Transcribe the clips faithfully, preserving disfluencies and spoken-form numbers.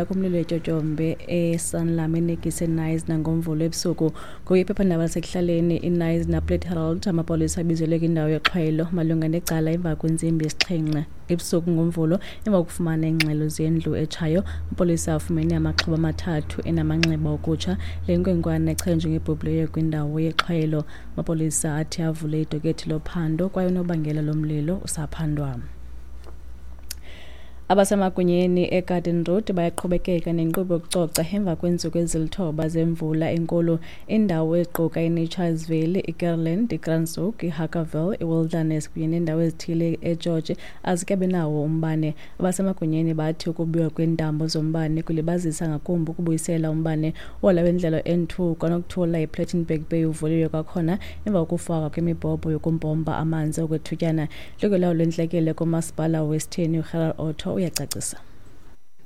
Kumlilo etyotyombe eSanlam eNikisi eKnysna ngoMvulo ebusuku. Ngoku iphephandaba lasekuhlaleni iKnysna Herald, amapolisa abizelwe kwindawo yexhwayelo malunga necala emva kwentsimbi yesixhenxe ebusuku ngoMvulo emva kokufumana iingxelo zendlu etshayo. Amapolisa afumene amaxhoba amathathu enamanxeba okutsha. Le nkwenkwana echazwe njengebhubhileyo kwindawo yexhwayelo. Amapolisa athi avule idokethi lophando kwaye unobangela lomlilo usaphandwa. Abasemagunyeni eGarden Road bayaqhubekeka nenkqubo yokucoca emva kweentsuku ezilithoba zemvula enkulu. Iindawo eziquka iNature's Valley, iKerland, iKranshoek, iHarkerville, iWilderness kunye neendawo ezithile eGeorge azikabi nawo umbane. Abasemagunyeni bathi ukubiwa kweentambo zombane kulibazisa ngakumbi ukubuyisela umbane. Uhola wendlela N two kwanokuthula iPlettenberg Bay uvuliwe kwakhona emva kokufakwa kwemibhobho yokumpompa amanzi okwethutyana. Intloko lwentlekele kumasipala wesithini uGerald Otto uyacacisa.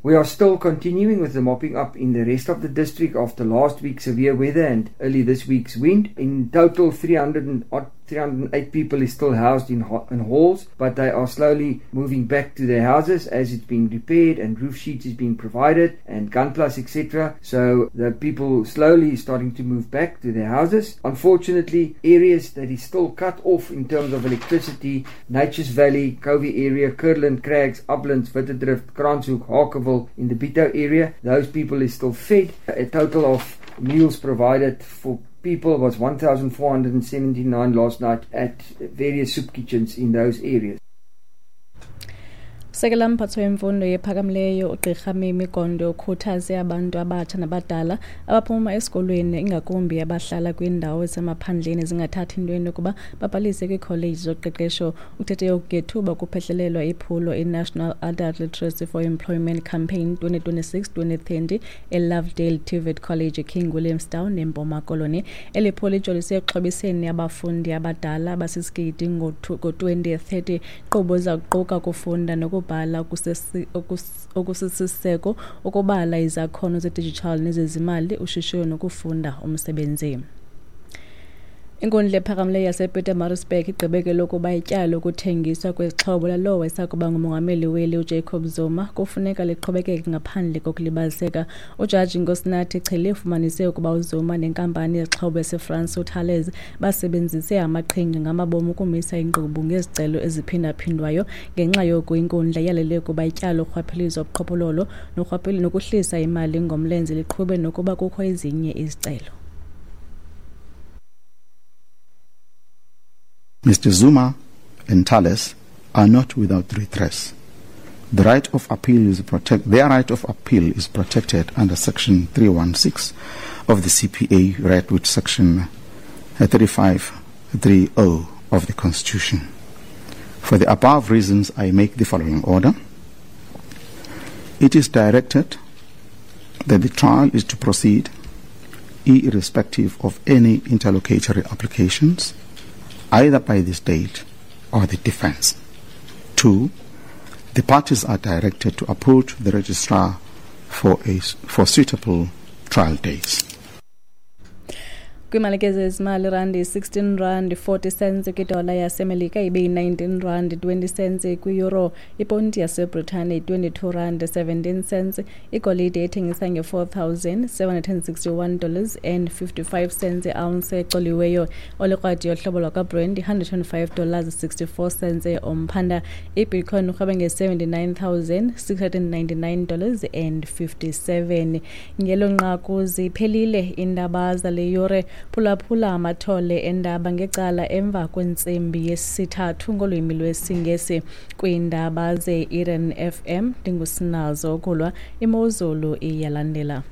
We are still continuing with the mopping up in the rest of the district after last week's severe weather and early this week's wind. In total, three hundred and eight people is still housed in, in halls, but they are slowly moving back to their houses as it's being repaired and roof sheets is being provided and gunplus, et cetera. So the people slowly starting to move back to their houses. Unfortunately, areas that is still cut off in terms of electricity, Nature's Valley, Covey area, Kurland, Crags, Uplands, Wittedrift, Kranshoek, Harkerville, in the Bito area, those people is still fed. A total of meals provided for people was one thousand four hundred seventy-nine last night at various soup kitchens in those areas. Sekela mphatho wemfundo yephakamileyo uGqirha Mimi Gondo ukhuthaze abantu abatsha nabadala abaphuma esikolweni ingakumbi abahlala kwiindawo ezisemaphandleni zingathathi ntweni ukuba babhalise kwiikholeji zoqeqesho. Uthethe oku ngethuba kuphehlelelwa iphulo iNational Adult Literacy for Employment Campaign twenty twenty-six twenty thirty eLovedale T V E T College eKing Williamstown neMpuma Koloni. Eli phulo lijolise ekuxhobiseni abafundi abadala abasisigidi ngo-twenty thirty. Inkqubo iza kuquka ukufunda nokubhala okusisiseko, ukubala izakhono zedijithali nezezimali, ushishino nokufunda umsebenzi. Inkundla ephakamileyo yasePietermaritzburg igqibe lokuba ityala lokuthengiswa kwezixhobo lalowo esakuba ngumongameli weli uJacob Zuma kufuneka liqhubekeke ngaphandle kokulibaziseka. Ujaji Nkosinathi Chili ufumanise ukuba uZuma nenkampani yezixhobo yaseFrance uThales basebenzise amaqhinga ngamabomu ukumisa inkqubo ngezicelo eziphindaphindwayo. Ngenxa yoku inkundla yalele ukuba ityala lorhwaphilizo obuqhophololo nokuhlisa imali ngomlenze liqhube nokuba kukho ezinye izicelo. Mister Zuma and Thales are not without redress. The right of appeal is protect, their right of appeal is protected under Section three one six of the C P A, read with Section thirty-five three oh of the Constitution. For the above reasons, I make the following order. It is directed that the trial is to proceed irrespective of any interlocutory applications, either by the state or the defense. Two, the parties are directed to approach the registrar for a, for suitable trial dates. Kwiimali ke zezimali, irandi sixteen rand forty cents kwidola yaseMelika ibe yi-nineteen rand twenty cents kwi-euro, iponti yaseBritane yi-twenty-two rand seventeen cents, igolide ethengisa nge-four thousand seven hundred and sixty-one dollars and fifty-five cents i-ounce ecoliweyo. Olikrwadi yohlobo lwakwaBrent yi-hundred and five dollars sixty-four cents umphanda. IBitcoin urhweba nge-seventy-nine thousand six hundred and ninety-nine dollars and fifty-seven. Ngelo nqaku ziphelile iindaba zale yure. Phulaphula amathole endaba ngecala emva kwentsimbi yesithathu ngolwimi lwesiNgesi. Kwiindaba ze-Eden F M ndingusinazo Kulwa, imozulu iyalandela.